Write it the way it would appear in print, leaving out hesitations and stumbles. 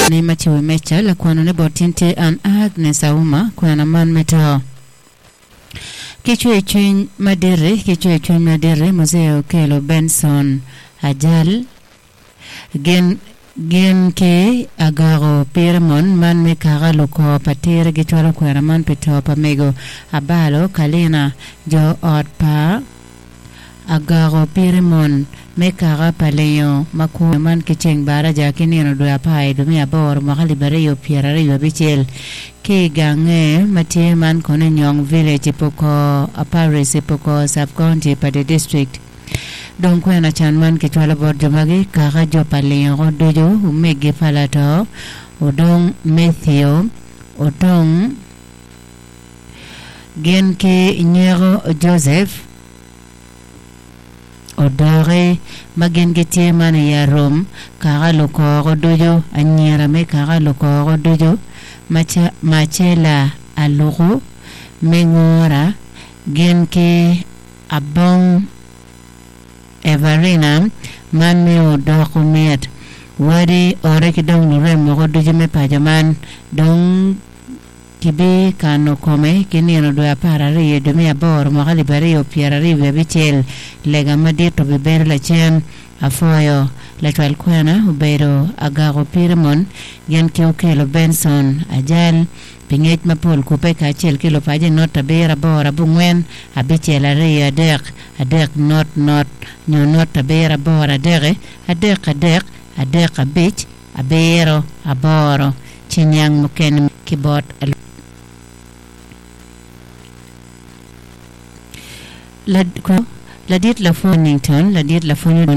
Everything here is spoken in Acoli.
Ni ma ci wi meja lakwano ne bot tin tye an Agnes Auma kwena man me to. Ki cwer cwiny madit-ti, ki cwer cwiny madit-ti, Muzee okelo Benson Ajal gin gin ki Agako Pirimon man me kaka lukor pa tira gicwalo kwena man pi to pa mego Abalo Kalina jo ot pa Agako Pirimon me kaka pa Lingo ma kwo man ki ceng baraja ki nino dwe apar i dwe me aboro mwaka alip aryo pyeraryo abicel ki i gange ma tye man kono i Nyong Village i Pokor Parish i Pokor Sub County pa the District. Dong kwena can man kicwalo bot jo magi kaka jo pa Lingo ducu omegi pa lato Odong Matthew Otong Gin ki nyeko Joseph odoki ma gin gitye man i arum kaka lukoko ducu, anyira me kaka lukoko ducu, Marcella Aluku me Ngora gin ki Abong Everina man me odoko mit wadi ore ki dong lurem woko ducu me paco man dong Kibikano kome ki nino dwe 12 i dwe me aboro mwaka alip 2026. Lega madit obibedo lacen. Apwoyo. Lacwal kwena obedo Agako Pirimon gin ki Okello Benson Ajal. Pi ngec mapol kubbe kacel ki lupaco i not abiro aboro abongwen abicel aryo adek adek not not nyo not abiro aboro adek adek adek adek abic abiro aboro ci niang mukene ki bot Ladit Lapwony Nington, Ladit Lapwony.